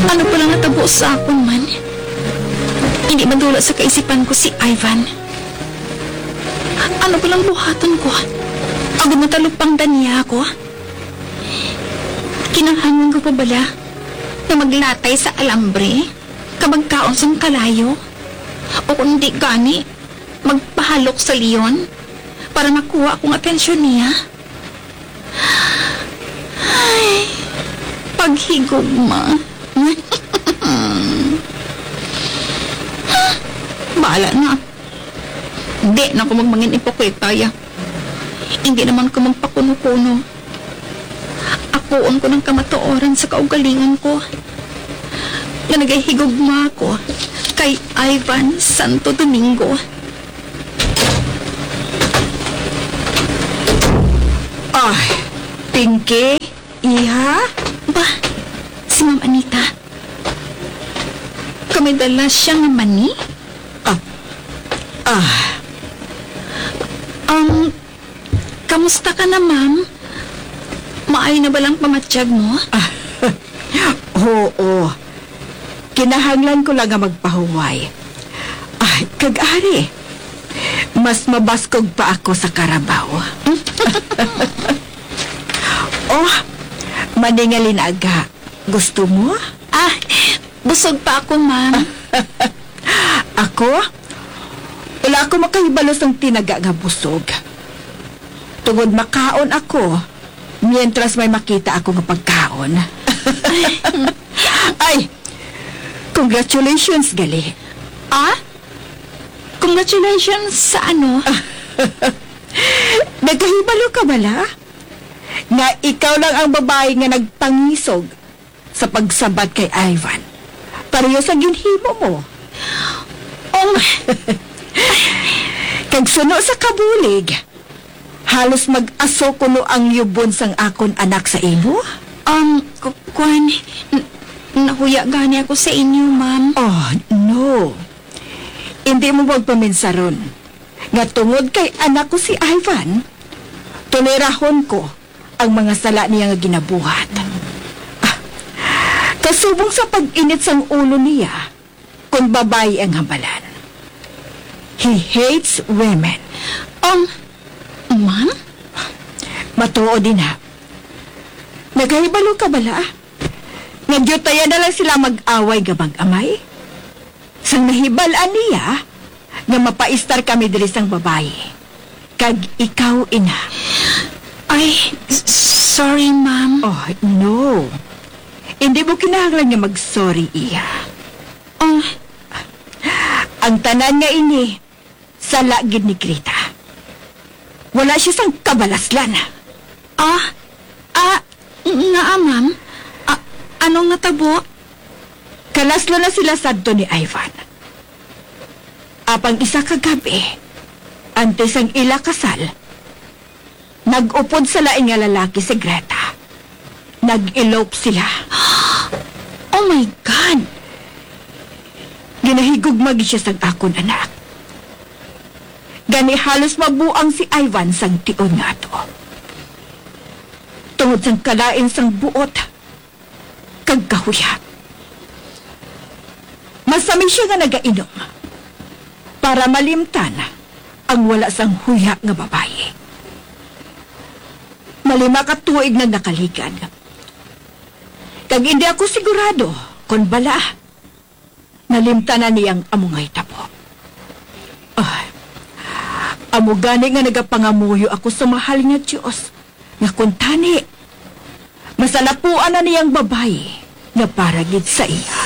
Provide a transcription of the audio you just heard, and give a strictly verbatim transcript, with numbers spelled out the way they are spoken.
Ano pa lang natabo sa akon man? Hindi madula sa kaisipan ko si Ivan. Ano pa lang buhaton ko? Agud matalupangdan niya ako? Kinahanglan ko pa bala na maglatay sa alambre ka magkaon sang kalayo? O kung di gani, magpahalok sa leon para makuha akong atensyon niya? Ay, paghigugma. Bahala na. Di na ko magmangin ipokweta, ya. Hindi naman ko magpakuno-kuno. Akuon ko ng kamatuoran sa kaugalingon ko nga nagahigugma ako kay Ivan Santo Domingo. Ah, Pinky, iha? Ba, si Ma'am Anita. Kami dala siya nga mani? Ah, ah. Um, kamusta ka na, ma'am? Maayo na ba lang pamatyag mo? Ah, oo. Kinahanglan ko lang nga magpahuway. Ah, kag ari, mas mabaskog pa ako sa karabaw. Oh, maningalin aga. Gusto mo? Ah, busog pa ako, ma'am. Ako? Wala ako makahibalo sang tinaga nga busog. Tungod makaon ako, mientras may makita ako nga pagkaon. Ay, congratulations, gali. Ah? Congratulations sa ano? Nagkahibalo ka bala? Nga ikaw lang ang babae nga nagpangisog sa pagsabat kay Ivan, pareho sa ginhimo mo. Oh, kag suno sa kabulig, halos mag-aso kuno ang yubon sang akon anak sa imo. Um, ku-, kuwan, n-, nahuya gani ako sa inyo, ma'am. Oh, no. Hindi mo magpaminsaron nga tungod kay anak ko si Ivan, tolerahon ko ang mga sala niya nga ginabuhat. Ah, kasubong sa pag-init sang ulo niya, kon babayi ang hambalan. He hates women. Um, ma'am? Matuod, ina. Nagahibalo ka bala? Nga diutayan na lang sila mag-away nga mag-amay? Sang nahibal-an niya nga mapaistar kami diri sang babayi, kag ikaw, ina. Ay, s-, sorry, ma'am. Oh, no. Hindi mo kinahanglan nga mag-sorry, iya. Oh. Ang tanan nga ini, sala gid ni Greta. Wala siya sang kabalaslan. Ah, ah, ngaa, ma'am? Ah, anong natabo? Kalaslo na sila sadto ni Ivan. Apang isa ka gab-i, antes ang ila kasal, nag-upod sa lain nga lalaki si Greta. Nag-elope sila. Oh my God! Ginahigugma gid siya sang akon anak. Gani halos mabuang si Ivan sang tion nga ato. Tungod sang kalain sang buot kag kahuya. Masami siya nga nagainom para malimtan ang wala sang huya nga babayi. Malima ka tuig nang nakaligad. Kag indi ako sigurado kon bala nalimtanan niya ang amo nga hitabo. Ah, amo gani nga nagapangamuyo ako sa mahal nga Dios, nga kuntani masalapuan na niya ang babayi nga para gid sa iya.